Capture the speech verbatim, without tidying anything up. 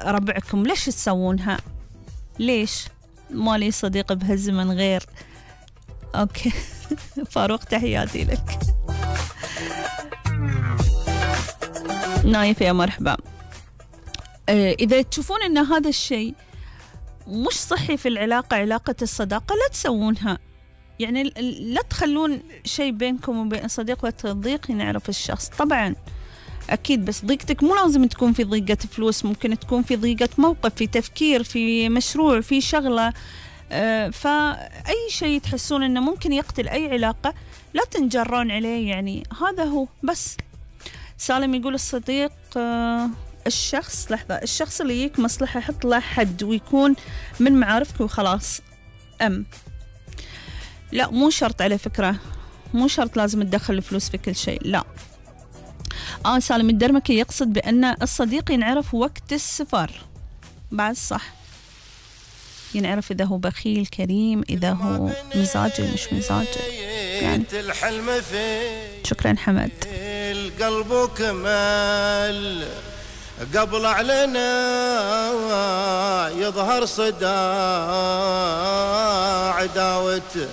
ربعكم ليش تسوونها؟ ليش؟ ما لي صديق بهالزمن غير. أوكي فاروق تحياتي لك. نايف يا مرحبا. إذا تشوفون أن هذا الشيء مش صحي في العلاقة، علاقة الصداقة، لا تسوونها. يعني لا تخلون شيء بينكم وبين صديق وتضيق نعرف الشخص. طبعا أكيد، بس ضيقتك مو لازم تكون في ضيقة فلوس، ممكن تكون في ضيقة موقف، في تفكير، في مشروع، في شغلة. أه فأي شيء تحسون أنه ممكن يقتل أي علاقة لا تنجرون عليه. يعني هذا هو بس. سالم يقول الصديق أه الشخص لحظة الشخص اللي يجيك مصلحة حط له حد ويكون من معارفك وخلاص. أم لا مو شرط، على فكرة مو شرط لازم تدخل الفلوس في كل شيء، لا. آه سالم الدرمكي يقصد بأن الصديق ينعرف وقت السفر، بعد صح، ينعرف إذا هو بخيل كريم، إذا هو مزاجي مش مزاجي يعني. شكرا حمد. القلب كمال قبل علينا يظهر صداع عداوته